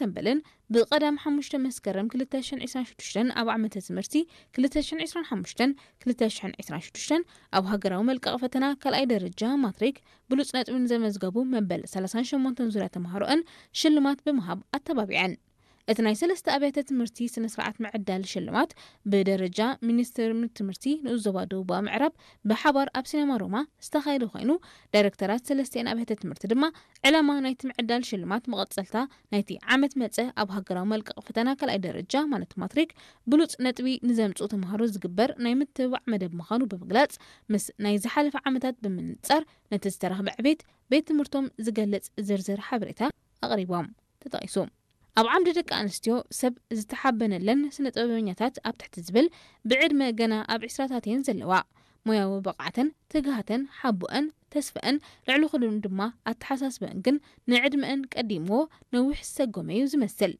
ሰምበልን ብቐዳም ሓሙሽተ መስከረም ክልተ ሽሕን ዕስራን ሽዱሽተን ኣብ ዓመተ ትምህርቲ ክልተ ሽሕን ዕስራን ሓሙሽተን ክልተ ሽሕን ዕስራን ሽዱሽተን ኣብ ሃገራዊ መልቀቕ ፈተና ካልኣይ ደረጃ ማትሪክ ብሉጽ ነጥቢ ንዘመዝገቡ መበል ሰላሳን ሸሞንተን ዙርያ ተምሃሮኣን ሽልማት ብምሃብ ኣተባቢዐን። እቲ ናይ ሰለስተ ኣብያተ ትምህርቲ ስነ ስርዓት ምዕዳል ሽልማት ብደረጃ ሚኒስትር ትምህርቲ ንኡስ ዞባ ደቡባዊ ምዕራብ ብሓባር ኣብ ሲነማ ሮማ ዝተኻየደ ኮይኑ፣ ዳይሬክተራት ሰለስቲኣን ኣብያተ ትምህርቲ ድማ ዕላማ ናይቲ ምዕዳል ሽልማት መቐጸልታ ናይቲ ዓመት መጸ ኣብ ሃገራዊ መልቀቕ ፈተና ካልኣይ ደረጃ ማለት ማትሪክ ብሉጽ ነጥቢ ንዘምጽኡ ተምሃሮ ዝግበር ናይ ምትብባዕ መደብ ምዃኑ ብምግላጽ፣ ምስ ናይ ዝሓለፈ ዓመታት ብምንጻር ነቲ ዝተረኽበ ዕቤት ቤት ትምህርቶም ዝገልጽ ዝርዝር ሓበሬታ ኣቕሪቦም። ተጠቒሱ። ኣብ ዓምዲ ደቂ ኣንስትዮ ሰብ ዝተሓበነለን ስነ ጥበበኛታት ኣብ ትሕቲ ዝብል ብዕድመ ገና ኣብ ዕስራታት እየን ዘለዋ። ሞያዊ ብቕዓተን፣ ትግሃተን፣ ሓቦአን፣ ተስፈአን፣ ልዕሊ ኩሉን ድማ ኣተሓሳስበአን ግን ንዕድመአን ቀዲምዎ ነዊሕ ዝሰጎመ እዩ ዝመስል።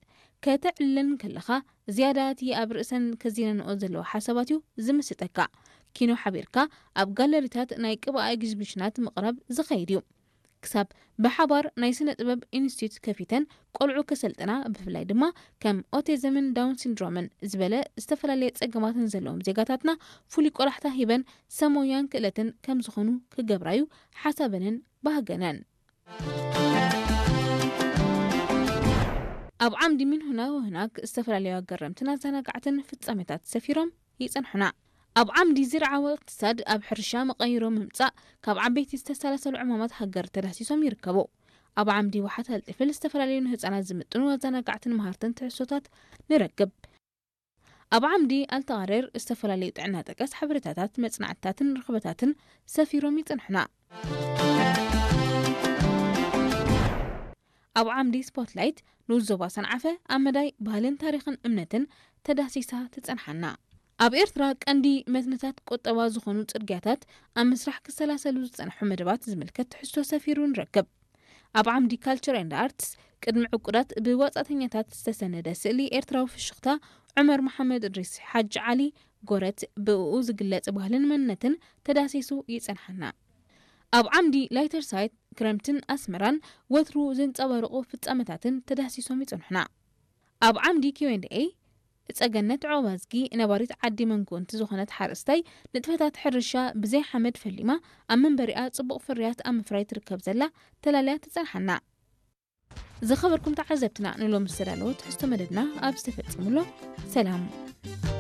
ከተዕልለን ከለኻ ዝያዳ እቲ ኣብ ርእሰን ከዚነንኦ ዘለዋ ሓሳባት እዩ ዝምስጠካ። ኪኖ ሓቢርካ ኣብ ጋለሪታት ናይ ቅብኣ ኤግዚቢሽናት ምቕራብ ዝኸይድ እዩ። ክሳብ ብሓባር ናይ ስነ ጥበብ ኢንስቲትዩት ከፊተን ቆልዑ ከሰልጥና፣ ብፍላይ ድማ ከም ኦቲዝምን ዳውን ሲንድሮምን ዝበለ ዝተፈላለየ ጸገማትን ዘለዎም ዜጋታትና ፍሉይ ቆላሕታ ሂበን ሰብ ሞያን ክእለትን ከም ዝኾኑ ክገብራዩ ሓሳበንን ባህገነን። ኣብ ዓምዲ ሚንሁና ወህናክ ዝተፈላለዩ ኣገረምትን ኣዘናጋዕትን ፍጻሜታት ሰፊሮም ይጸንሑና። ኣብ ዓምዲ ዝርዓዊ እቅትሳድ ኣብ ሕርሻ መቐይሮ ምምጻእ ካብ ዓበይቲ ዝተሳለሰሉ ዕማማት ሃገር ተዳህሲሶም ይርከቡ። ኣብ ዓምዲ ዋሓት ኣልጢፍል ዝተፈላለዩ ንህጻናት ዝምጥኑ ኣዘናጋዕትን መሃርትን ትሕዝቶታት ንረክብ። ኣብ ዓምዲ ኣልተቓሬር ዝተፈላለዩ ጥዕና ጠቀስ ሓበሬታታት፣ መጽናዕትታትን ርኽበታትን ሰፊሮም ይጽንሑና። ኣብ ዓምዲ ስፖትላይት ንኡስ ዞባ ሰንዓፈ ኣብ መዳይ ባህልን ታሪኽን እምነትን ተዳሲሳ ትጸንሓና። ኣብ ኤርትራ ቀንዲ መትንታት ቁጠባ ዝኾኑ ጽርግያታት ኣብ ምስራሕ ክሰላሰሉ ዝጸንሑ መደባት ዝምልከት ትሕዝቶ ሰፊሩ ንረክብ። ኣብ ዓምዲ ካልቸር ኤንድ ኣርትስ ቅድሚ ዕቁዳት ብወጻእተኛታት ዝተሰነደ ስእሊ ኤርትራዊ ፍሽኽታ ዑመር መሓመድ እድሪስ ሓጂ ዓሊ ጎረት ብእኡ ዝግለጽ ባህልን መንነትን ተዳሲሱ ይጸንሓና። ኣብ ዓምዲ ላይተር ሳይት ክረምትን ኣስመራን ወትሩ ዘንጸባርቑ ፍጻመታትን ተዳሲሶም ይጸንሑና። ኣብ ዓምዲ ኪው ኤንድ ኤ ጸገነት ዖባዝጊ ነባሪት ዓዲ መንጎንቲ ዝኾነት ሓረስታይ ንጥፈታት ሕርሻ ብዘይ ሓመድ ፈሊማ ኣብ መንበሪኣ ጽቡቕ ፍርያት ኣብ ምፍራይ ትርከብ ዘላ ተላልያ ትጸንሓና። ዝኸበርኩም ተዓዘብትና ንሎም ዝተዳለወ ትሕዝቶ መደብና ኣብ ዝተፈጸሙሎ ሰላም።